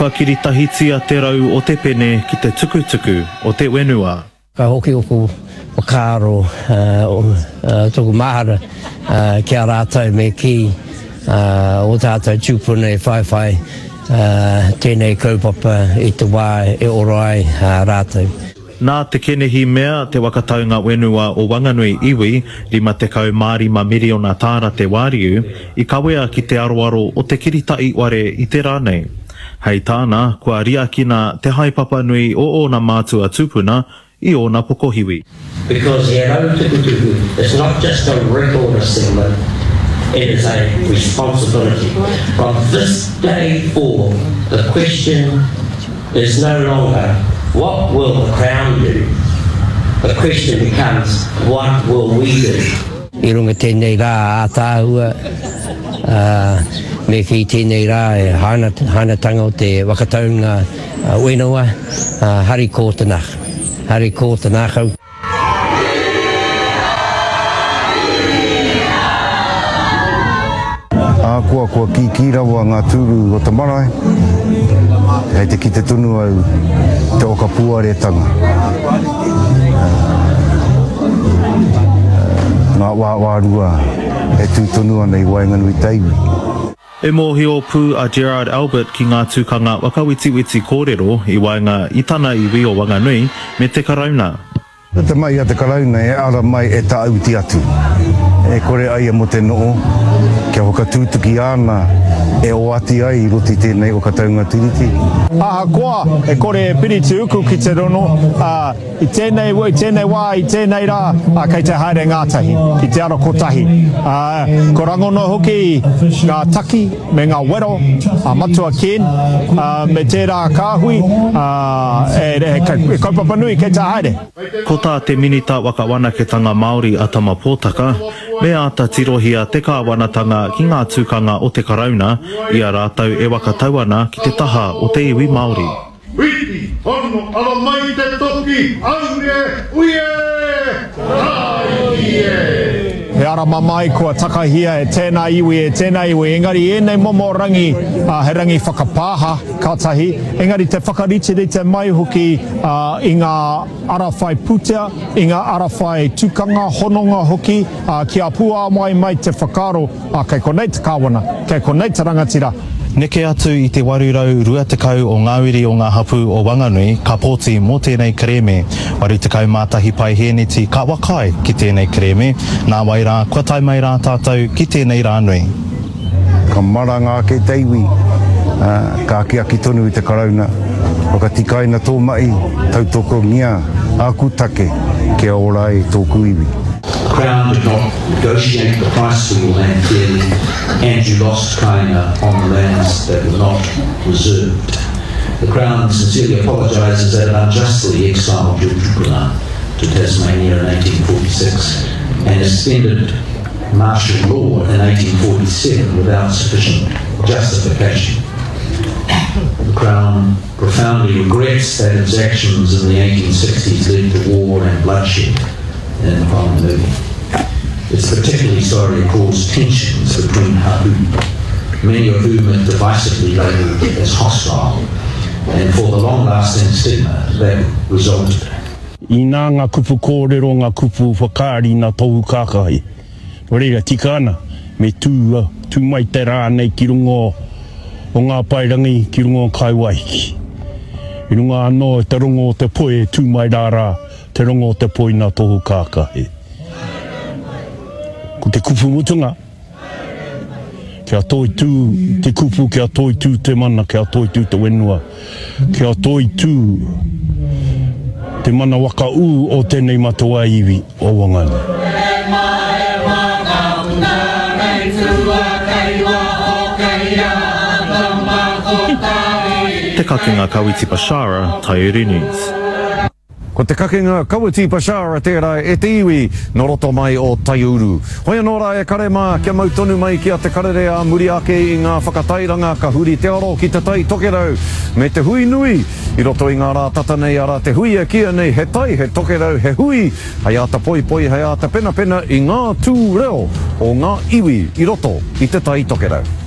Kua kiritahitia te rau o te pene ki te tukutuku o te wenua. Ka hoki oku whakaaro, toku mahara ki a rātou me kī o tātou tūpuna e whaiwhai tēnei kaupapa i te wā e ora ai rātou. Nā Te Kenehi Mea te whakataunga whenua o Wanganui iwi, 55 miriona tāra te wāriu, i kawea ki te aroaro o te kirita'i ware i te rā nei. Hei tāna, kua riakina te haepapa nui o ōna mātua tūpuna i ōna pokohiwi. Because he rau tukutuku is not just a record of settlement, it is a responsibility. From this day forward, the question is no longer what will the Crown do? The question becomes what will we do? I runga tēnei rā ātaahua, ā, me kī tēnei rā e hainatanga o te whakataunga whenua, ā, hari kō te nā, hari kō te nākau. Ahakoa kua kīkī rawa ngā tūru o te marae, kei te kite tonu au te whakapuaretanga. Ngā wāwārua e tū tonu ana i waenganui te iwi. E mōhio pū a Gerard Albert ki ngā tukanga whakawetiweti kōrero i waenga i tana iwi o Wanganui me te Karauna. Ko te mahi a te Karauna e ara mai e tāuti atu, e kore ai e mo te noo, kia whakatūtuki āna e oati ai i roto i tēnei whakataunga Tiriti. Ahakoa e kore e piri te uku ki te rono, ā, i tēnei, i tēnei wā, i tēnei rā, ā, kei te haere ngātahi, ki te ara kotahi. Ā, ko rangona hoki ngā taki me ngā wero a Matua Ken, ā, me tērā kāhui, ā, e, e, e kaupapa nui kei te haere. Ko tā te Minita Whakawanaketanga Māori a Tama Potaka, me āta tirohia te kāwanatanga ki ngā tukanga o te Karauna i a rātou e whakatau ana ki te taha o te iwi Māori. Whiti, hono, ara mai te toki, aure, ui e, tāiki e! He ara mamae kua takahia e tēnā iwi, e tēnā iwi, engari ēnei momo rangi, he rangi whakapāha, ka tahi, engari te whakariterite mai hoki i ngā ara whai pūtea, i ngā ara whai tukanga, hononga hoki, kia puāwai mai te whakaaro, kei konei te kāwana, kei konei te rangatira. Neke atu i te 820 o ngā uri o ngā hapū o Wanganui ka pōti mō tēnei kerēme. 81 paihēneti ka whakaae ki tēnei kerēme, nāwai rā kua tae mai rā tātou ki tēnei rā nui. Ka maranga ake te iwi, ā, ka akiaki tonu i te Karauna, Whakatikaina tō mahi, tautokongia āku take kia ora ai tōku iwi. The Crown did not negotiate the price for your land fairly and you lost kāinga on the lands that were not reserved. The Crown sincerely apologises that it unjustly exiled your tupuna to Tasmania in 1846 and extended martial law in 1847 without sufficient justification. The Crown profoundly regrets that its actions in the 1860s led to war and bloodshed in Whanganui. It's particularly sorry it caused tensions between hapu, many of whom it divisively labelled as hostile, and for the long-lasting stigma that resulted. Inā ngā kupu kōrero, ngā kupu whakaari nā tōu kākahi. Nō reira, tika ana, me tū, tū mai te rā nei ki runga o ngā paerangi, ki runga o Kaiwaiki. I runga anō i te rongo o te poi e tū mai rā rā, te rongo o te poi nā tōu kākahi. Ko te kupu mutunga, Kia toitū te kupu, kia toitū te mana, kia toitū te whenua, kia toitū te mana waka ū o tēnei matawa iwi o Wanganui. Te Kakenga Kawiti Bashara, Taiuru News. Ko te kakenga Kawiti Bashara tērā e te iwi nō roto mai o Taiuru. Hoi anō rā e kare mā, kia mau tonu mai ki a Te Karere ā muri ake i ngā whakatairanga ka huri te aro ki Te Tai Tokerau me te hui nui i roto i ngā rā tata nei arā te hui e kīia nei he tai, he tokerau, he hui hei āta poipoi, hei āta penapena i ngā tū reo o ngā iwi i roto i Te Tai Tokerau.